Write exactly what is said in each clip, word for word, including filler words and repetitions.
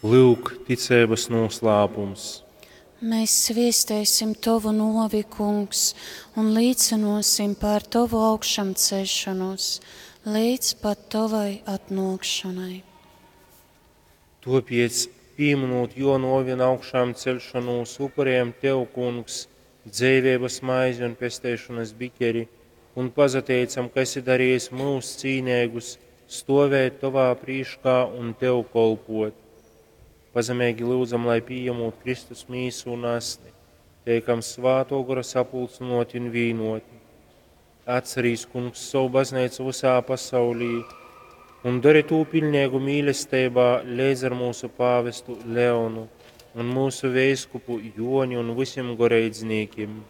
Lyuk, ticeibys nūslāpums. Mēs sviestēsim Tovu nuovi, Kungs, un līcynuosim par Tovu augšamceļšonūs līdz pat Tovai atnuokšonai. Tuopiec, pīminūt juo nuovi un augšām ceļšanūs, upurējam Tev, Kungs, dzeiveibys maizi un pesteišonys biķeri, un pazateicam, ka esi darījis mūs cīneigus stovēt Tovā prīškā un Tev kolpot. Pazemeigi lyudzam, lai pījemūt Kristus mīsu un asni, teikam svāto gora sapulcynoti un vīnoti. Atcerīs, Kungs, savu baznīcu visā pasaulī un dari tū pilnīgu mīlestībā leidz ar mūsu pāvestu Leonu un mūsu veiskupu Joni un visiem goreidznīkim.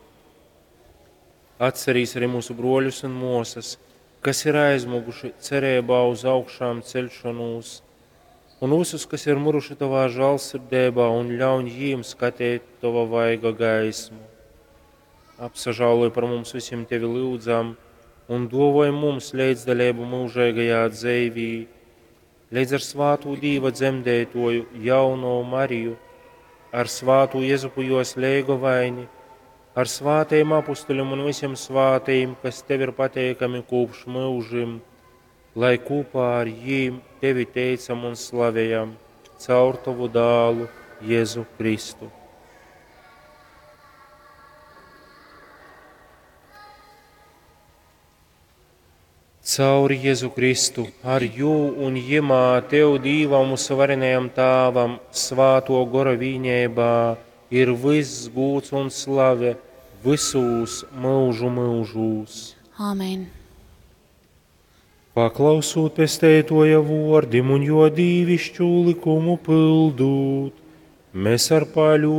Atcerīs arī mūsu broļus un mosas, kas ir aizmuguši cerībā uz augšām ceļšanos, un visus, kas ir muruši tavā žālsirdībā, un ļauj jiem skatīt tava vaiga gaismu. Apsažāloj par mums visiem tevi lūdzam, un dovoj mums līdzdalību mūžīgajā dzeivī, līdz ar svātu Dīva dzemdētoju jauno Mariju, ar svātu Jezupu jos leigovaini, ar svātajiem apustuļiem un visiem svātajiem, kas tev ir pateikami kopš mūžim, lai kopā ar jīm tevi teicam un slavējam caur tavu dālu Jēzu Kristu. Caur Jēzu Kristu, ar jū un jimā Tev Dīvam mūsu varenajam Tāvam, svāto gora vīņībā, ir viss gūts un slave visūs mūžu mūžūs. Āmen. Paklausūt pesteitoja vordim un jo dīvišķu likumu pildūt, mēs ar paļu